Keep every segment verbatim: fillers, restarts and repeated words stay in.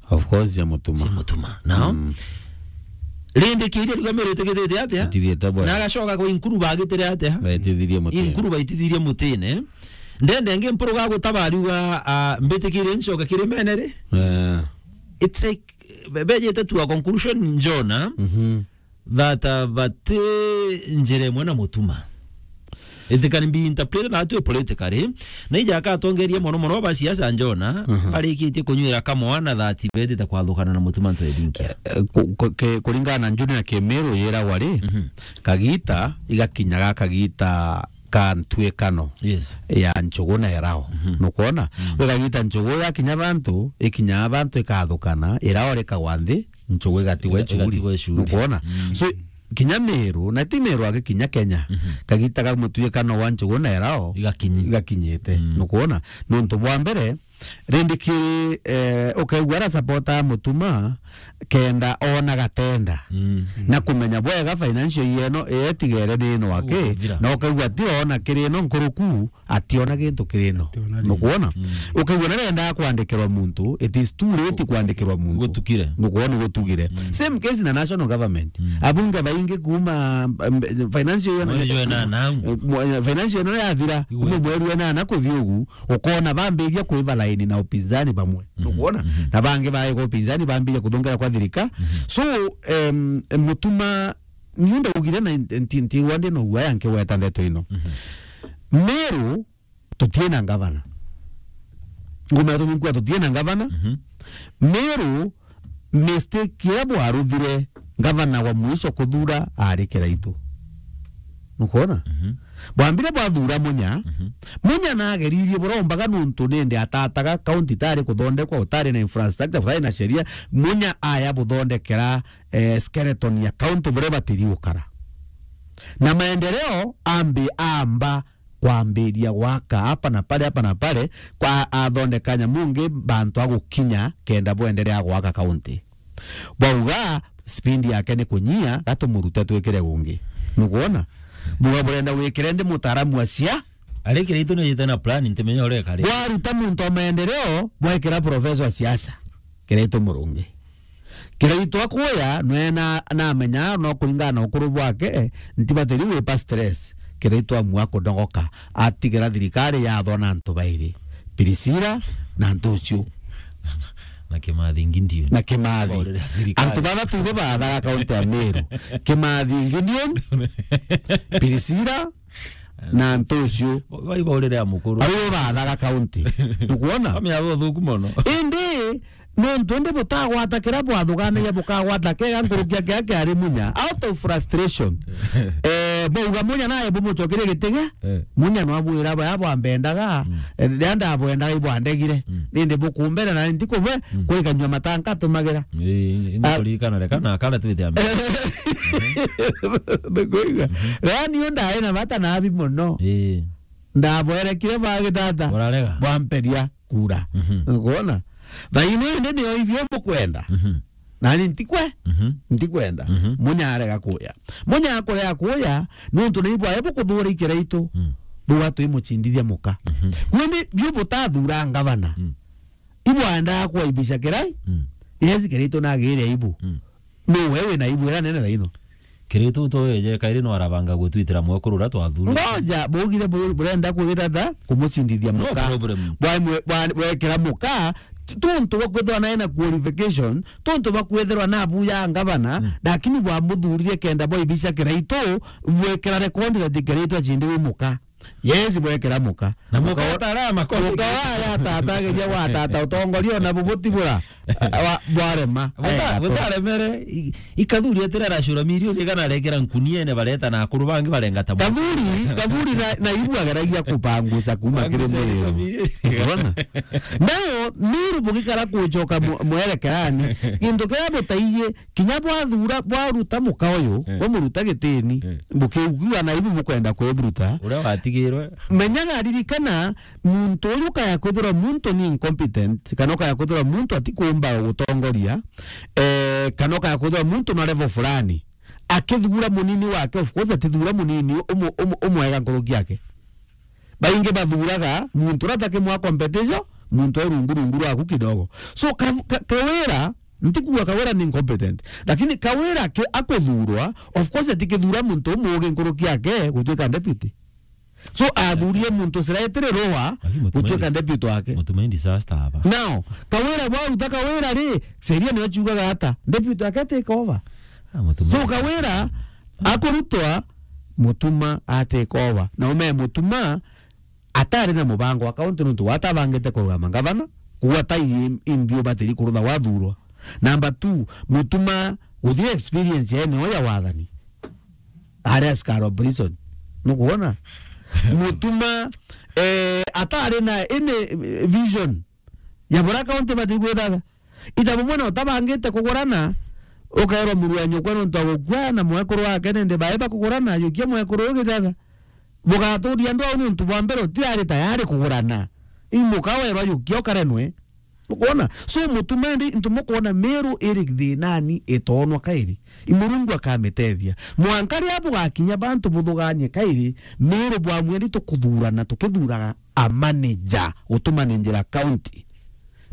Of course, cia Mutuma. Cia Mutuma. Nao? Mm. Rindi kiria riuga Meru itigitite atia? Itithiite bwega. Na agacoka kwa Inkuru bagitire atia? Baitithirie mutine. Inkuru baitithirie mutine. Ndende ngi mpuruga gutaba riuga, ah, mbitikirie ncoke kiri mene ri? Eh. It's like, be-, bejete to a conclusion njona. Mhm. That, uh, but, eh, njira imwe na Mutuma. It can be interpreted that way politically. Na ija akatongeria mono mono ba siasa njona, mhm, barikitie kunywira kamwana that betite kwathukana na Mutuma Ntwethinkia. Eh, ku-, ku-, ke-, kuringana na Njuri na Kimiru yiragwa ri, mhm, kagita igakinya ga kagita ka ntwikano, yes, ya Nchugu na Erao. Mhm. Nukwona? Mm. Gwe kagita Nchugu yakinya bantu, ikinya bantu ikathukana, Erao rikagwa nthi, Nchugu igatigwa iga-, ichuri. Igatigwa ichuri. Nukwona? Mm. So, kinya Meru, na ti Meru aki, kinya Kenya, mhm, kagita ka mutwikano wa Nchugu na Erao igakinyi-, igakinyite. Mm. Nukwona? Nontu bwa mbere, rindi kiri, eh, ukaigua ara supporter a Mutuma, kenda ona gatenda. Mm. Na kumenya bwega financial year ino, etigere ni ino aki, gukuthira. Na ukaigua ti ona kiri ino nkuruku, ationa gintu kiri ino. Ationa ringi. Nukwona? Mm. Ukaigua narenda kwandikirwa muntu, it is too late kwandikirwa muntu. Gutukire. Nukwona gutugire. Mm. Same case na national government. Mm. Abunge baingi kuma, um, financial year, mweri jwa enana au, eh, mwa-, financial year ino yathira, igwe, kuma mweri wa enana kuthi ugu, ukona bambiria kwiva laini na upinzani bamwe. Mhm, nukwona? Mhm. Na bangi baega upinzani bambiria kuthongera kwa thirika. Mhm. So, em, Mutuma, niu ndaugire na nti-, nti-, ntigwa ndi na uaya nkigweta ndeto ino. Mhm. Meru, tutie na ngavana. Nguma ya tuminkua tutie na ngavana. Mhm. Meru, mistake iria bwaruthire, ngavana wa mwisho kuthura ari Kiraitu. Nukwona? Mhm. Bwambire bwathura Munya. Mhm. Munya nageririe burombaga nuntu nindi atataga, county itari kuthondekwa, utari na infrastructure, utari na sheria. Munya aya buthondekera, eh, skeleton ya county buria batiri gukara. Na maendeleo ambi amba kwambiria gwaka hapa na pale, hapa na pale, kwa athondeka nyamu ngi bantu a gukinya kenda bwenderea gwaka county. Bwauga speed yake ni kunyia, gatumurute twikire gungi. Nukwona? Buga burenda wikire ndi mutaaramu wa sia. Ari Kiraitu ni yite na plan, ntimenya uria ekari. Bwaruta muntu wa maendeleo, bwekira professor wa siasa. Kiraitu Murungi. Kiraitu akuya, nwe na, namenya, no kuringana na ukuru bwake, ntibatiri wipa stress. Kiraitu amua kudogoka, atigira thirikari yathwa na antu bairi, Priscilla na Ntucio. Na Kimathi Ngideon. Na Kimathi. Baurire thirikari. Antu bathatu ibo baathaga kaunti ya Meru. Kimathi Ngideon, Priscilla, na Ntucio. Bai baurire a mukuru. Bau baathaga kaunti. Nukwona? Bamia buthuku mono. Indi, nontu indi butagwata kiria bwathuganagia, bukagwata kega nkuruki ya kiria kiari Munya. Out of frustration. Eh, bauga Munya naye bumucokerie giti gia. Eh. Munya nwabwira baya bwambendaga, mm, eh, riria ndabwendaga ibwandegire. Mm. Nindi bukumbera na ntikube, mm, kuri kanyua matanga atumagira. Ii, ni, ah, kuririkana reka na kara twite ambe. Ndikuiga. Mhm. Riria niu ndari na bata nabi mono. Ii. Ndabwerekire bagitata. Urarega. Bwamperia kura. Mhm. Nukwona? Thaino indi nio ivyo bukwenda. Mhm. Nani ntikwe? Mhm. Ntikwenda. Mhm. Munya arega kuya. Munya akurega kuya, nontu ni ibwae bukuthura Ikiraitu. Mm. Buga twimucindithia muka. Mhm. Kwindi biu butathura ngavana. Mm. Ibwaendaga kwaibisha Kirai? Mm. Yes, Kiraitu nagire aibu. Mm. No we wina aibu ira nene thaino? Kiraitu to weje kairi no arabanga gutwitira mwekuru uria twathurite. Ngoja, bugire bu-, burenda kwigitata kumucindithia muka. No problem. Bwa mwe-, bwa-, bwekira muka, t-, tuntu bwa kwithwa nae na qualification, tuntu bwa kwithirwa na abu ya ngavana, mm, lakini bwamuthurire kenda bwaibisha Kiraitu, bwekira record that Kiraitu acindire muka. Yes, bwekira muka. Na muka. Muka wa-, atara makosa. Muka wa ya tata ageria gwa tata utongoria ona bubutibura. Wa-, bwarema. Buta-, aega tu. Butaremere, i-, ikathuri atira aracura milioni igana arekera nkuniene bareta na akuru bangi barenga ta. Kathuri, kathuri na, na ibu ageragia kupangusa kuma kiri Pangusa Meru. Milioni. Urona? Nayo, Meru bugikara kucoka mu-, mwerekerani, gintu kiria butaiye, kinya bwathura, bwaruta muka uyu, eh, bwamuruta gitini, eh, bukiugiwa na ibu bukwenda kwiburuta. Uria watigirwe. Menyaga, ririkana, muntu uyu ukaya kwithirwa muntu ni incompetent, kana ukaya kwithirwa muntu atikumba gutongoria, eh, kana ukaya kwithirwa muntu na level fulani, akithura munini wake, of course, atithura munini umu-, umu-, umwega nkuruki yake. Baingi bathuraga muntu uria atakimwa competition, muntu e rungu rungu rwaku kidogo. So, ka-, ka-, Kawira, ntikuuga Kawira ni incompetent, lakini Kawira ke-, akuthurwa, of course, atikithura muntu umuugi nkuruki yake gutuika deputy. So, athurie muntu sira etire roa Lakini Mutuma gutuika indi-, deputy wake. Mutuma indi disaster aba. Now, Kawira bwaruta Kawira ri, sheria niyo ciugaga ata? Deputy wake take over. Ah, Mutuma So, indi Kawira akurutwa, Mutuma a take over. Na ume Mutuma atari na mubango wa kaunti nontu watabangite kurugama ngavana, kuua tai imbi ubatiri kurutha wathurwa. Number two, Mutuma guthire experience ya eneo ya wathani. Ari askari wa prison. Nukuona? Mutuma, eh, atari na any vision ya bura kaunti batiri gwithatha. Ita bumwe na utabangite kugurana, ukaerwa muru wa nyukwa nontu wa gukua na mwekuru wake nende bae bakugurana, yukia mwekuru uyu githatha. Bugaturia andu au nontu bwa mbere utirari tayari kugurana. Imuka werwa yukia ukarenwe. Ukwona? So, Mutuma indi, ntu mukwona Meru iri thinani itonwa kairi. I Murungu akamitethia. Mwanka riria bugakinya bantu buthuganie kairi, Meru bwamweri tukuthurana, tukithuraga a manager, gutumanagera county.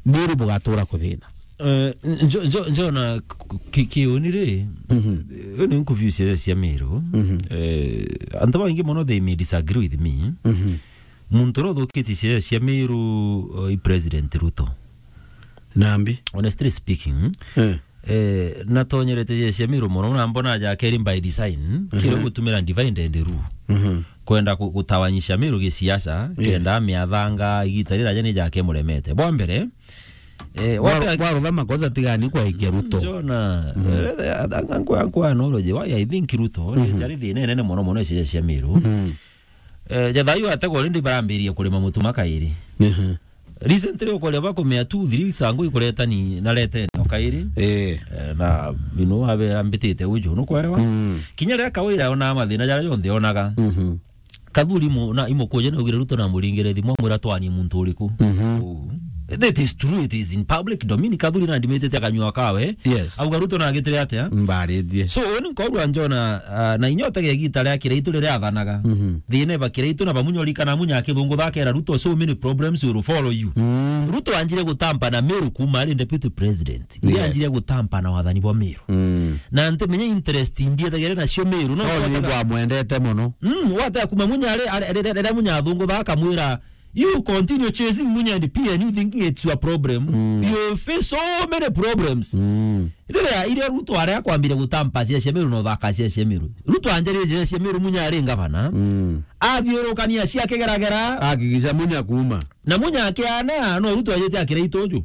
Meru bugatura kuthina. Eh, njo-, njo-, njona k-, ki-, kiuni ri, Mhm. eh, ni nkuviu cia, cia Meru. Mhm. Eh, antu baingi mono they may disagree with me. Mhm. Muntu uria uthukitie ciaca cia Meru, uh, i President Ruto. Nambi? Honestly speaking, Eh. eh, natonyerete ciaca cia Meru mono, na mbona aja akeri by design, Mhm. kiria gutumira divide and rule. Mhm. Kwenda ku-, gutawanyisha Meru gisiasa, Yes. kenda miathanga, igita riraja ni jake muremete. Bwa mbere, eh, Kwa-, wate- kwa rutha makosa tigani kwaikia Ruto. Njona, Mhm. eh, eh, anku-, anku anology, why I think Ruto, Mhm. jari thina inene mono mono ciaca cia Meru. Mhm. Eh, ja thayu ategwa already barambirie kurima Mutuma kairi. Ehe. Recently ukoria bakumea two, three weeks ago ikuretani na retene o kairi. Eh. Eh, na bino abera mbitite uju, nukwelewa? Mm. Kinya riria Kawira ona mathina jaria jonthe onaga. Mhm. Kathuri mu-, na imukuje na ugire Ruto na muringire thimu amwira twani muntu uriku. Mhm. Uu. That is true, it is in public domain. Kathuri na ndimitite akanyua kawe. Yes. Auga Ruto na agitire atia? Mbarithie. So, uni nkorwa njona, ah, na inya utege igita ria Kiraitu riria athanaga. Mhm. Thina iba Kiraitu na bamunyori kana munya akithungu thakera Ruto, so many problems will follow you. Mm. Ruto anjire gutampa na Meru kuma ari deputy president. Yes. Iria anjire gutampa na wathani bwa Meru. Mm. Na ntimenya interest imbi ethagire nacio Meru, no No, ni twataga- bwamwendete mono. Mm, watega kuma munya ari, ari, ari, ari, ari munya athungu thaka akamwira, "You continue chasing Munya and P N U thinking it's your problem. Mm. You face so many problems." Mm. Riria, iria Ruto aria akwambire gutampa ciaca cia Meru na uthaka ciaca cia Meru. Ruto anjari ciaca cia Meru Munya ari ngavana. Mm. Athiurukania cia kigeragera. Akigisha Munya kuma. Na Munya akianea, no Ruto ajite akira ituju.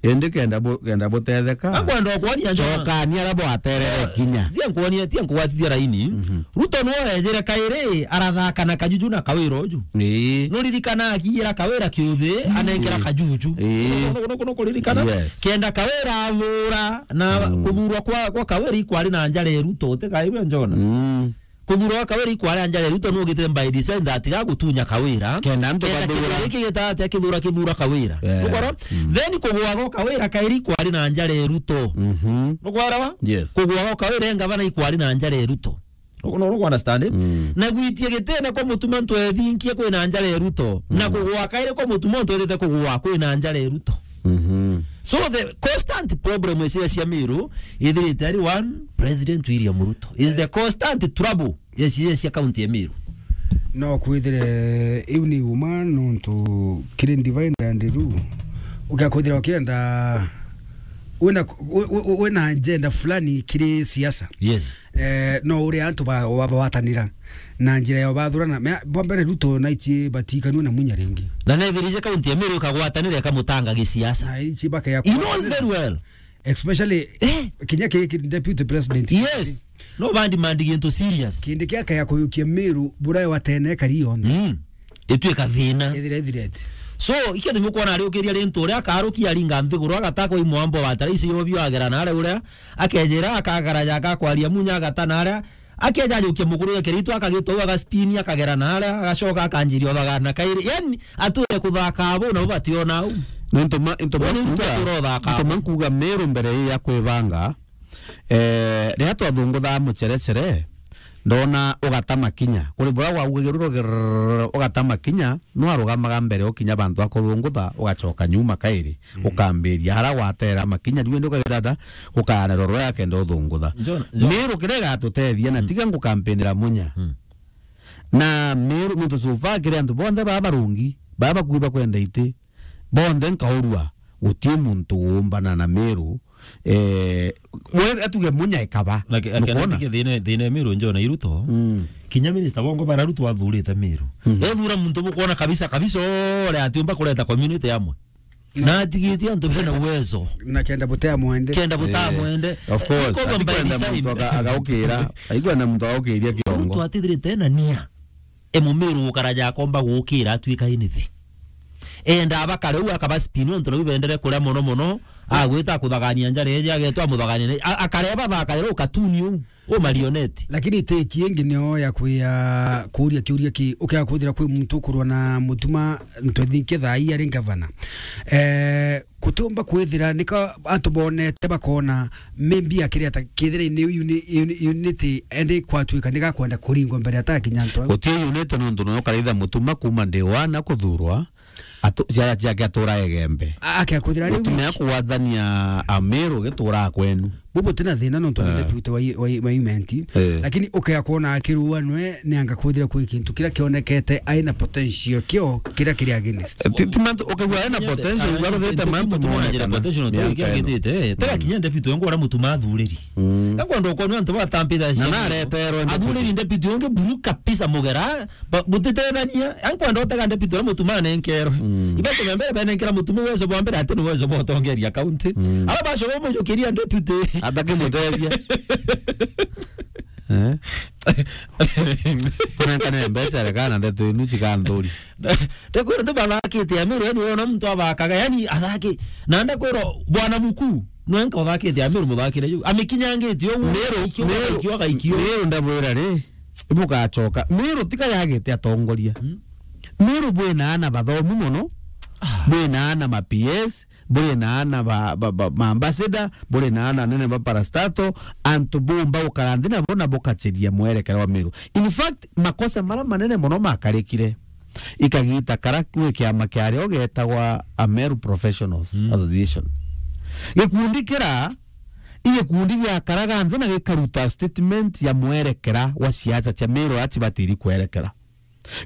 Indi kenda bu-, kenda butetheka. Akwenda okwonia njona. Cokania ara bwaterere Eh, kinya. Tia nkuonia, tia nkugwatithia raini. Mhm. Ruto no ejire kairi, arathaka na Kajuju na Kawira uju. Ii. Nuririkana akiira Kawira kiuthi, Ii. anenkera Kajuju. Ii. Kuno, kuno, kuno kuririkana? Yes. Kenda Kawira athura na Mm. kuthurwa kwa, kwa Kawira ikwari na njara ya Ruto, utikaigua njona. Mm. Kuthurwa kwa Kawira ikwari na njara ya Ruto, nugite by design that ga gutunya Kawira. Kenda antu Kenda bathura. Kithura giki gita atia kithura, kithura Kawira. Yeah. Nukora? Mm. Then kugwa gwa Kawira kairi ikwari na njara ya Ruto. Mhm. Nukwarawa? Yes. Kugwa gwa Kawira e ngavana ikwari na njara ya Ruto. Ugu no, ugu understand, eh? Mm. Na gwitia gitene kwa Mutuma ntwethinkie kwina njara ya Ruto. Na Mm. kugwa kairi kwa Mutuma ntwethite kugwa kwina njara ya Ruto. Mhm. So the constant problem is cia Meru, ithirite ari one, President William Ruto is the constant trouble ya cia, cia county ya Meru. No kwithire iu ni uma nontu kiri divide and rule. Ugakwithira ukienda wina, wi-, wi-, wina agenda fulani kiri siasa. Yes. Eh, no uria antu ba, ba, bawatanira na njira ya bathurana. Mea, bwa mbere Ruto na ichi batikanwe na Munya ringi. Na nethirije kaunti ya Meru ikagwatanira ikamutanga gisiasa. Na ichi bake ya He knows very well. Especially Eh. kinya ki, ki deputy president. Yes. No bandi mandi gintu serious. Kindi kia kaya kuyukia Meru bura wa tene kari yonthe. Mm. Ituika thina. Ithire, ithire ati. So, ikio thimu kwona ari ukiria rintu uria akarukia aringa nthiguru agataka i mwambo wa tara ici yobio agera na aria uria akejera akagara ya akakwaria Munya agata na aria akeja ajukia mukuru ya Kiraitu akagitwa agaspini akagera na aria agacoka akanjiria uthaga na kairi. Yani, atwire kuthaka abo nabo bationa au. Nontu ma, nontu ma Uni nkuga, nkuga, nontu ma nkuga Meru mbere ya kwibanga, eh, riria twathunguthaa mucherechere, Ndona ugata makinya. Kuri bura gwaugagia ruru gerrrr, ugata makinya, no arugamaga mbere ukinya bantu akuthungutha, ugacoka nyuma kairi, Mm. ukambiria. Ara gwatera makinya, riu indi ukagitata, ukaanirwa rwea kenda uthungutha. John, John. Miru kiria igatutethia, na Mm. tiga ngukampinira munya. Mm. Na Miru, nontu so far kiri antu bonthe baa barungi, baa bakui bakwenda iti, bonthe nkaurua, guti muntu uumbana na Miru, eh, we atuge munya ikaba. Like, akenda Nukwona? Ndike thina, thina ya Miru njona iruto. Mm. Kinya minister bongo bara Ruto athurite Miru. Mm. Ethura muntu bukwona kabisa, kabisa, ore atiumba kureta community amwe. Na atigitie antu bena uwezo. Na kenda butea mwende. Kenda butaa Eh, mwende. Of course. Iko ati by kwenda design. Muntu aka-, agaukira. Aikwenda muntu agaukiria kiongo. Ruto atithirite na nia. E Mumiru gukara ja akomba gukira atuika inithi. Enda abakare u akaba spin ontu nau bendere kuria mono mono, agwita kuthagania njara eje, agetwa muthagania ne-, a-, akare bathakaira u katuni u, u marionette. Lakini ti kingi nio ya kwia kuria kiuria ki, ukia kuthira kwi muntu ukurwa na Mutuma, ntwethinke thaa ii ari ngavana. Eh, Kutumba kwithira nika antu bonete bakona maybe akiri ata kithira ni uni-, uni-, unity endi kwatuika ni gakwenda kuringwa mbere atakinya antu au. Guti unity nontu no karaitha Mutuma kuma day one akuthurwa, atu-, ciana ciake atura Igembe. A-, akia kwithira riu Gutumia kugwathania Amiru gitura kwenu. Bubu tina thina nontu ni Eh. deputy wa, wa, wa imenti. Eh. Lakini ukea kwona akirua nwe ni anga kwithira kwi kintu kiria kionekete aina potential kio kiria kiri against. Ti, ti mantu, ukigua ena potential, ugaruthite mantu monekana. Potential no tuge kiagitite, eh. Tega kinya deputy wengu ora Mutuma athuriri. Mm. Ekwenda ukonwa antu batambitha Na nareterwe deputy. Athuriri deputy wengi buru kabisa mugera, ba-, butitethania. Ankwenda utega deputy ora Mutuma anenkerwe. Mm. Ibe kumembere benenkera Mutuma uwezo bwa mbere ati ni uwezo bwa utongeria county. Mm. Ara bacoka mujukiria deputy. Atake mutethia. Eh? Tunenkane mbeca, rekana ndeto inu cikanthuri. Ndakwira ntu bathakite Amiru, yani wona muntu athakaga, yani athaki. Na ndakwira bwana mukuu, nwenka uthakite Amiru muthakire yu. Amikinyangitie uguo, Miru, ikio, Miru, ikio, ikio. Miru ndabwira ri, ibugacoka. Miru tika yagite atongoria. Hmm? Miru bwina ana bathomu mono, Ah. bwina ana ma P S, buri na ana ba, ba, ba, ma ambassador, buri na ana nene ba parastatal, antu bumba gukara nthi nabo na bukaciria mwerekera wa Miru. In fact, makosa mara manene mono makarikire ikagita kara kwi kiama kiario getagwa Ameru Professionals Mm. Association. Gikundi kira, i gikundi giakaraga nthi na gikaruta statement ya mwerekera wa siasa cia Miru aria cibatiri kwerekera.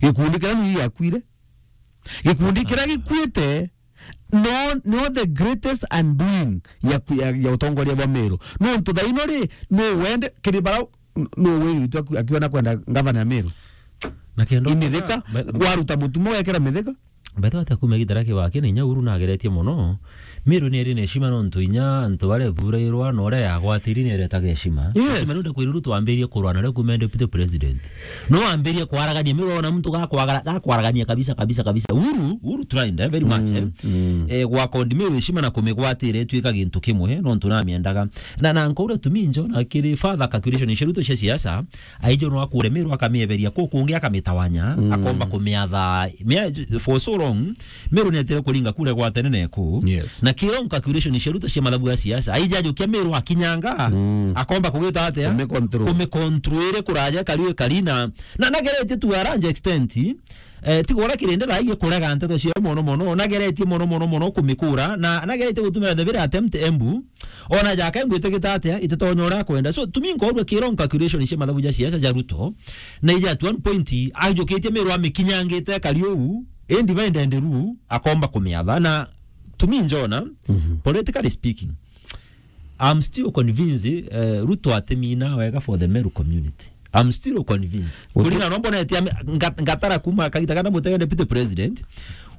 Gikundi kira ni giakwire. Gikundi kira gikuite no, no the greatest undoing ya, ya, ya utongoria bwa Miru. Nontu thaino ri, no wende, kiri bara, no witu aku-, akiona kwenda ngavana ya Miru. Na kendo Imithika, ba-, waruta Mutuma wekera Mithika. Betha ata kuma gitara kiwake ni inya Uhuru nageretie mono. Miru ni iri na heshima nontu inya antu baria thurirwa na uria yagwatiri ni iretaga heshima. Yes. Heshima nontu kwiri Ruto wambirie kurwa na rio kuma deputy president. No wambirie kwaragania, Miru ona muntu gakwagara-, gakwaragania kabisa, kabisa, kabisa. Uhuru, Uhuru tried, eh, very much, Mm, eh. mm. Eh, gwa kondi Miru heshima na kumigwatira ituika gintu kimwe, nontu namiendaga. Na, na nkaura tumi njo na kiri further calculation cia Ruto cia siasa, aijo no akure Miru akamieberia ku kungi akamitawanya, Mm. akomba kumiatha. Mia-, for so long, Miru ni etire kuringa kura gwa tene na eku. Yes. Na kiro calculation cia Ruto cia mathabu ya siasa, aija ajukia Miru akinyanga, Mm. akomba kugita atia? Kumicontrol. Kumicontrol iri kuraja kariu kari na, na nageretie to a large extent, eh, tiga uria kirindi thaa ii kurega nteto cia mono mono, nageretie mono mono mono kumikura, na nageretie gutumira the very attempt Embu, Ona jaka ngwite gita atia, ititonya uria akwenda. So, to me nkorua kiro calculation cia mathabu ja siasa ja Ruto, na ija at one point, ajukitie Miru amikinyangite kari uu, indi by the end ru, akomba kumiatha. Na to me njona, Mhm. politically speaking, I'm still convinced, eh, Ruto atimina wega for the Meru community. I'm still convinced. Uti- Kulingana na mbona eti ame-, nga-, ngatara kuma kagita kana mutege deputy president,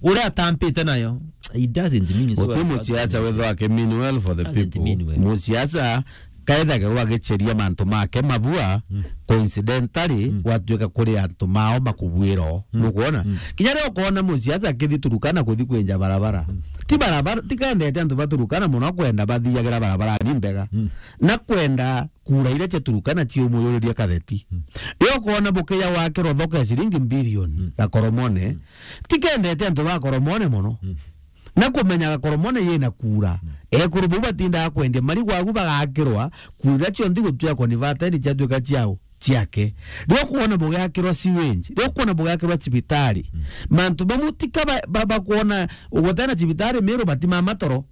uria atampite nayo, it doesn't mean so. Uti well. Muciaca wethwa akimini well for the Doesn't people. Mean well. Muciaca kaethagirwa agiceria mantu make mabua, Mm. coincidentally, Mm. gwatuika kuri antu mao makubwira o. Mm. Nukwona? Mm. Kinya riria ukona muciaca akithi Turukana kuthi kwinja barabara. Mm. Ti barabara, ti kendete antu ba Turukana muno kwenda bathiagira barabara ni mbega. Mm. Na kwenda kura iria cia Turukana ciumuyuriria katheti. Mm. Riria ukona bukeya wakirwa thoko ya ciringi mbilioni Mm. ya Koromone, Mm. ti kendete antu ba Koromone mono. Mm. Na kumenyaga Koromone yina kura. Mm. Ekuru bau batindaga kwendia marigwa agu bagakirwa, kura iria cionthe igutwika converted ciatuika ciao. ciake. Riria ukwona bugiakirwa sewage, riria ukwona bugiakirwa cibitari, mantu bamwe tika ba-, ba-, bakwona ugutena cibitari Meru batimama toro.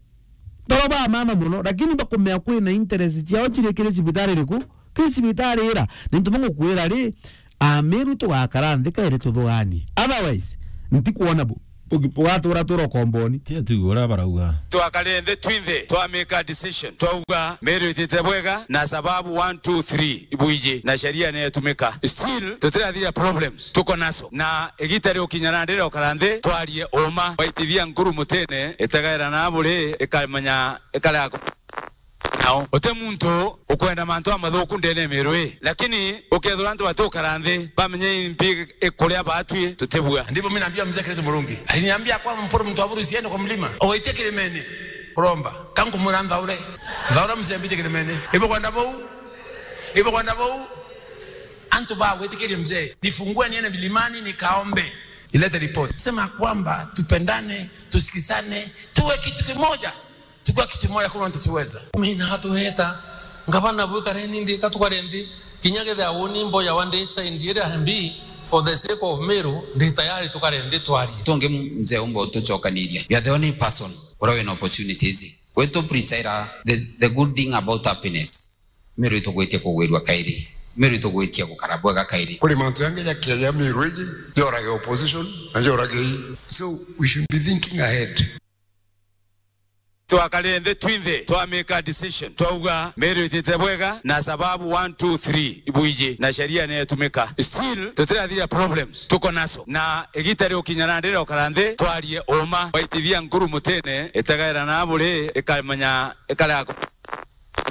Toro bamama mono, lakini bakumea kwina interest ciao ciri kiri cibitari iriku? Kiri cibitari ira. Ni ntu bangukwira ri, Ameru tugakara nthi kairi tuthuganie. Otherwise, ntikwona bu-, bugi-, bugatura tura ukomboni. Tia tu uria barauga. Twakare nthi twinthe, twa make a decision. Twauga, Meru itite bwega, na sababu one, two, three, ibuiji, na sheria ni itumika. Still, tutirathira problems tuko naso. Na igita riukinya na ndira ukara nthi, twarie uma. Waitithia nkuru mutene, itegaira na buri, ikamenya, ikarega ku-, nao. Uti muntu ukwenda mantu amathuku ndene ya Meru ii. Lakini ukethira antu batukara nthi, bamenye impi ikuria batwi tutibua. Ndipo mimi naambia mzee Kenneth Murungi. Aliniambia kwamba Mpuru mtu aburu usiende kwa mlima. Ugaitie kirimene. Kuromba. Kankumwira nthaure. Nthaure mzee mbite kirimene. Ibo kwenda bau. Ibo kwenda bau. Antu ba gwitikiria mzee. Nifungue niende milimani nikaombe. Ilete report. Sema kwamba tupendane, tusikizane, tuwe kitu kimoja. Tukua kitu moja kuna ntutuweza. Mina atuheta. Ngavana bwikareni nthi, ka tukare nthi. Kinya kethira uni mboya wa ndita indire ambi, for the sake of Meru, ndi tayari tukare nthi twarie. Tungi mzee umba utucokaniria. You are the only person uria wina opportunities. Gwitu preacher the, the good thing about happiness. Meru itugwitie kugwirua kairi. Meru itugwitie gukara bwega kairi. Kuri mantu yangi jakiaja Meru iji, jorage opposition, na jorage ii. So we should be thinking ahead. Twakare nthi twinthe, twa make a decision. Twauga, Meru itite bwega, na sababu one, two, three, ibuiji, na sheria ni itumika. Still, tutirathira problems tuko naso. Na igita riukinya na ndira ukara nthi, twarie uma. Waitithia nkuru mutene, itegaira na buri, ikamenya, ikarega ku-,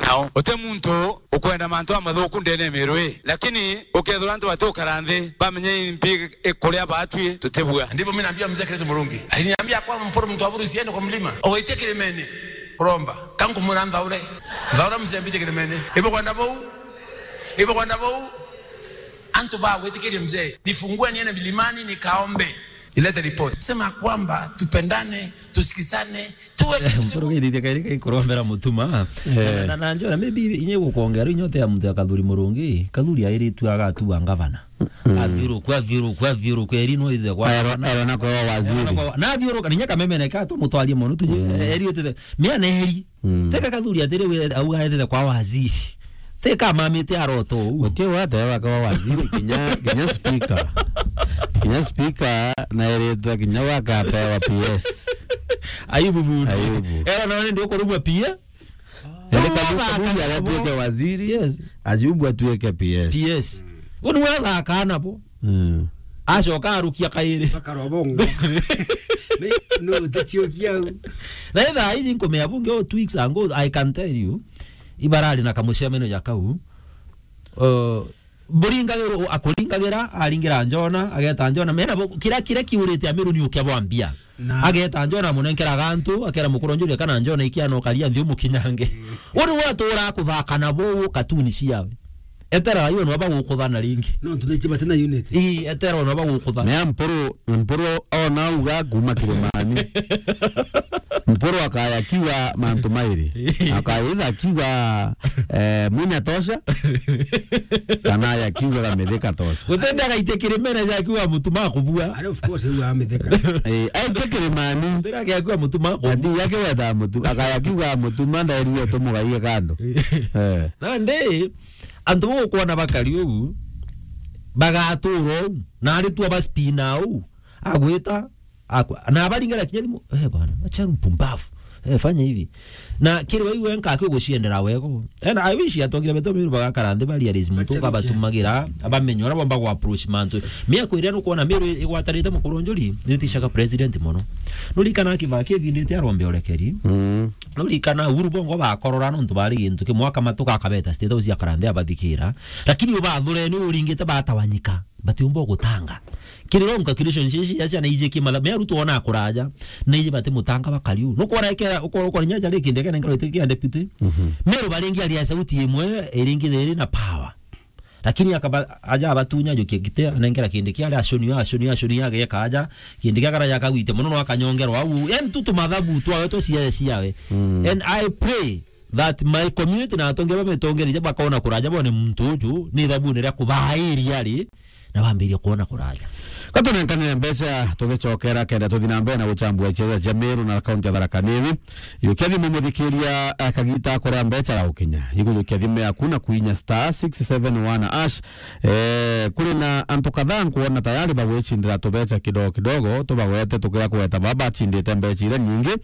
nao. Uti muntu ukwenda mantu amathuku ndene ya Meru ii. Lakini ukethira antu batukara nthi, bamenye impi ikuria batwi tutibua. Ndipo mimi naambia mzee Kenneth Murungi. Aliniambia kwamba Mpuru mtu aburu usiende kwa mlima. Ugaitie kirimene. Kuromba. Kankumwira nthaure. Nthaure mzee mbite kirimene. Ibo kwenda bau. Ibo kwenda bau. Antu ba gwitikiria mzee. Nifungue niende milimani nikaombe. Ilete report. Sema kwamba tupendane, tusikizane, tuwe kitu kimoja. Mpuru geithithia kairi kai kurombera mutuma. Eh. Na, na, na njona, maybe inye gukwongera inyote ya muntu ya Kathuri Murungi, Kathuri airitu agatua ngavana. Mm. Athiuruku, athiuruku, athiuruku, eri no ithe kwa Ero-, ngavana. Ero na kwa waziri. Ero na kwa wa-, na athiuruka, ninya Kameme neka tumutwarie mono tuje, mm, eri utithe. Mia na eri. Mm. Teka Kathuri atiri we, auga ethe kwa waziri. Teka mamite aroto u. Ukiwa ate waka wa waziri, kinya, kinya speaker. Kinya speaker, na eritwa kinya waka apewa P S. Ayubu Bundu. Ayubu. Era no ndi ukurumwa P S. Ere Kathuri, Kathuri aratuike waziri. Yes. Ayubu atuike P S. P S. Uni wathaka nabo. Mm. Acoka arukia kairi. Bakarwa bongo. Ni, no, utitiokia u. Na itha iji nkumea bunge o two weeks ago, I can tell you, ibarari na kamucemeno ja kau. Uh, buringagirwo, akuringagira, aringira Njona, ageta Njona. Mena bo, kira, kira kiurite Amiru ni ukia bwambia. Na ageta Njona amunenkeraga antu, akera mukuru Njuri kana Njona ikia no karia nthi umukinyange. Mm. Uri watura kuthaka nabo katuni ciawe. Etera ayo no bagukuthana ringi. No, tunaiche bati na unity. Ii, etera no bagukuthana. Mea Mpuru, Mpuru ona uga kuma kirimani. Mpuru akaya kiuga mantu mairi. Akaitha kiuga, eh, Munya tosha. Kana ya kiuga ga Mithika tosha. Gutende agaitia kirimene ja kiuga mutuma kubua. And of course, uga Mithika. Eh, aitia kirimani. Tira ya kiuga mutuma kubua. Ati yake weta mutu, akaya kiuga mutuma ndairue tumugaie kando. Eh. Nandi, antu bukwona bakari uu, bagatura uu, na ari tu abaspina uu, agwita, akwa-, na abaringara kinya thimu, "Eh, bwana, acha mpumbavu. Eh, fanya hivi." Na kiri waiwe nka akiguciendera wego. And I wish atongire beto Meru bagakara nthi ba realize muntu uka batumagira, abamenye uria bomba gwa approach mantu. Mia kwira nukwona Meru igwatanite mukuru Njuri, nitishaga president mono. Nurikana Kibaki ebindite arombe orekeri. Mm. Nurikana Uhuru bongo bakorora nontu bari gintu kimwe, akamatuka akabeta State House akara nthi abathikira. Lakini ubathureni uringite batawanyika. Batiumba gutanga. Kiri long calculation cia, cia, cia na ije kimala, me arutwo ona kuraja, na ije bati mutanga bakari u. Nukwona eke, uko-, ukona nya jari kinde kene nkaro ite kia deputy. Mhm. Meru baringi ari ya sauti imwe, iringi theri na power. Lakini akaba, aja abatunya jukia gite, anengera kindi kia ari acuni, acuni, acuni ageka aja, kindi kia kara ya kagwite mono no akanyongerwa au. Yani tu tumathabu twawe twa cia, ciawe. Mm. And I pray that my community na atongeria bamitongereria bakona kuraja bone muntu uju ni ithabuni ria kubaa area ari, na bambirie kwona kuraja. Ka tunenkanire mbeca tugicokera kenda tuthi na mbere na guchambua icheza cia Meru na kaunti ya Tharaka Nithi. Yukia thimu muthikiria, eh, kagita akora mbeca ra ukinya. Igujukia thimu yaku na kuinya star six seven one hash. Eh, kuri na antu kadhaa nkuona tayari bagwicindira tubeca kidogo kidogo, tubagwete tukira kugweta baba bachindite mbeca iria nyingi.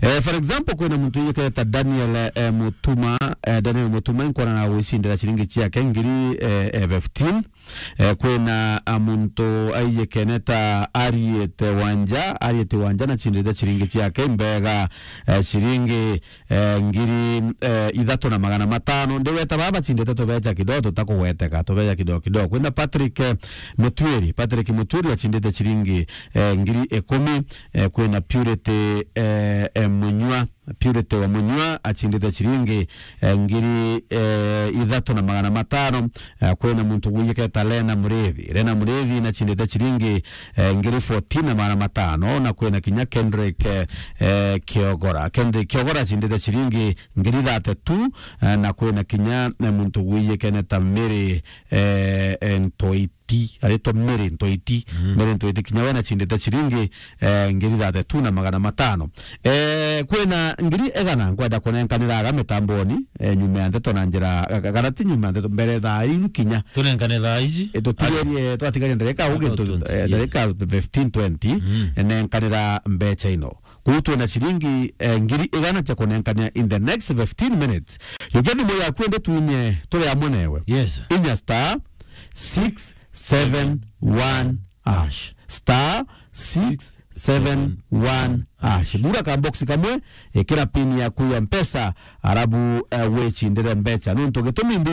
Eh, for example, kwina muntu yiketa Daniel, eh, Mutuma, eh, Daniel Mutuma nkuona na gwicindira ciringi ciake ngiri, eh, eh, fifteen. Eh, kwina, ah, muntu aiyikene ta Ariete Wanja, Ariete Wanja na chindite chiringi chiake mbega, eh, chiringi, eh, ngiri, eh, ithatu na magana matano. Ndiweta baba chindite tubecha kidogo tutakugweteka, tubecha kidogo kidogo. Kwina Patrick, eh, Mutwiri, Patrick Mutwiri achindite chiringi, eh, ngiri ikumi, eh, kwina Purity, eh, eh, Munywa, Purity wa Munywa achindite chiringi, eh, ngiri, eh, ithatu na magana matano. Eh, kwina muntu gwiyiketa Lena Murithi. Lena Murithi nachindite chiringi, eh, ngiri fourteen na magana matano, na kwina kinya Kendrick, eh, eh, Kiogora. Kendrick Kiogora achindite chiringi ngiri thirty-two, eh, na kwina kinya, eh, muntu gwiyikene ta Mary, eh, eh, Ntoiti. Aritwa Mary Ntoiti. Mm. Mary Ntoiti kinya we nachindite chiringi, eh, ngiri thirty-two na magana matano. Eh, kwina ngiri igana nkwenda kunenkanira aga mitamboni, eh, nyuma ya ndeto na njira, ga-, ga-, kana ti nyuma ya ndeto, mbere thaa iu kinya. Tunenkane thaa ici? Eh, tutigerie, twatigaria ndarika ugi, tu-, eh, ndarika fifteen, twenty, mm, eh, nenkanira mbecha ino. Kuu twina chiringi, eh, ngiri igana cia kunenkania in the next fifteen minutes. Yukia thimu yaku ende twinye turi amwe newe. Yes. Inya star six seven one hash. Star six seven one hash. Bura ka box kamwe, ikira pin yaku ya Mpesa, arabu, eh, wechindire mbecha. Nuntu gitumi mbi